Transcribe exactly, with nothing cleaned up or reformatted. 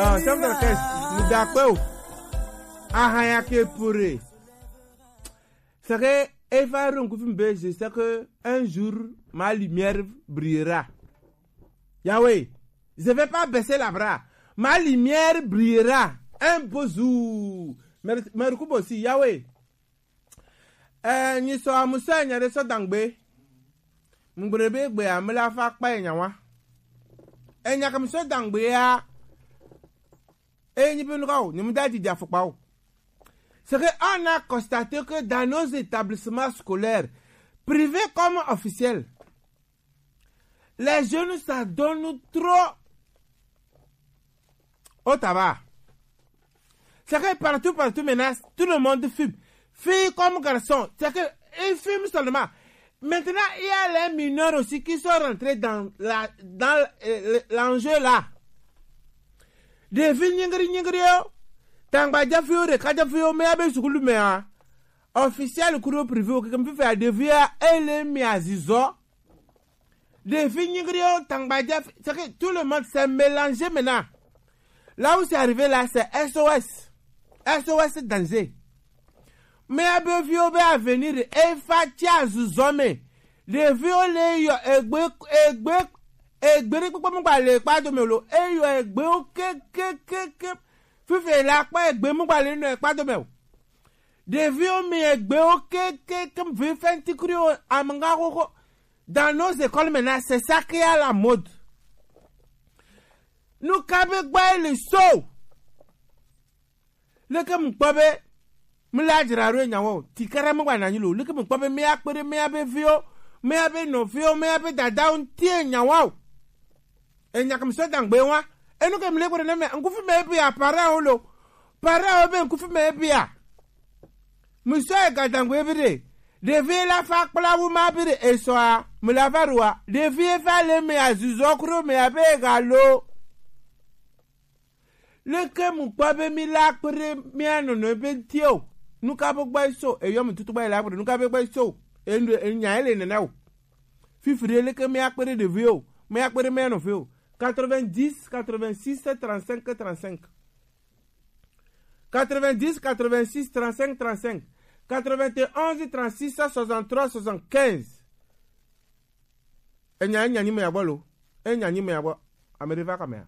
Ah, chef d'orchestre, nous d'accord. Ahaya ke pure. C'est que Eva Ronkufi Mbe, je sais que un jour, ma lumière brillera. Yahweh, je vais pas baisser la bras. Ma lumière brillera un beau jour. Mer-, Merkubo aussi, Yahweh. Eh, nyi sɔ amusɔ enya ɖe sɔ dangbe. Mgbe be gbe amela fa kpa enya wa. Enya kam sɔ dangbe ya. E nyi be nuka o, nyi mu da didi afɔkpa o. C'est que on a constaté que dans nos établissements scolaires, privés comme officiels, les jeunes s'adonnent trop au tabac. C'est que partout, partout maintenant, tout le monde fume. Filles comme garçons, c'est que ils fument seulement. Maintenant, il y a les mineurs aussi qui sont rentrés dans la, dans, euh, le- l'enjeu là. Ɖevi nyigri nyigri yo, tangba jafi yo, ɖeka jafi yo, mɛ abe sukulu mɛ a, officiel kuro privé o, keke mi fifi a ɖevi a, ele mi azizɔ. Ɖevi nyigri yo, tangba jafi, c'est que tout le monde s'est mélangé maintenant. Là où c'est arrivé là, c'est S O S. S O S danger. Mɛ abe viwo be avenir efa tsi azuzɔ me. Ɖeviwo le yɔ egbe egbe egbe ɖe kpekpe mu gba le kpa dome lo. Eyɔ egbewo kekekeke. Fifi la kpɔ egbe mu gba le nɔ ekpa dome o. Ɖeviwo mi egbewo kekeke vi fɛntikriwo amega xoxo. Dans nos écoles maintenant, c'est ça qui est à la mode. Nuka be gba ele so. Leke mu kpɔ be mi la dzra ɖo enya wa o. Ti kara mi gba na nyi lo. Leke mu kpɔ be mi akpe ɖe mi abe viwo, mi abe nɔviwo, mi abe dadawo ŋuti enya wa o. Enya kam sɔ dangbe wa. Enu ke mi le gbe ɖe na mi, ŋkufi me bi a parent wo lo. Parent wo be ŋkufi me bi a. Mi sɔ ega dangbe bi ɖe. Ɖevi la fa kpla wu ma bi ɖe esɔa. Mi la va ɖoa. Ɖevi fa le mi azuzɔ kuro mi abe ega lo. Leke mu kpɔ be mi la kpe ɖe mia nɔnɔ be ŋuti o? Nuka be gba so? Eyɔ mi tutu gba yi la kpe ɖe nuka be gba so? Enu enya ele nene o. Fifi ɖe leke mia kpe ɖe ɖevi o? Mia kpe ɖe mia nɔvi o? Quatre-vingt-dix, quatre-vingt-six, trente-cinq, trente-cinq. Quatre-vingt-dix, quatre-vingt-six, trente-cinq, trente-cinq. Quatre-vingt-onze, trente-six, soixante-trois, soixante-quinze. Enya, enya nyi me ya gbɔ lo. Enya nyi me ya gbɔ. Ame ɖe va kame a?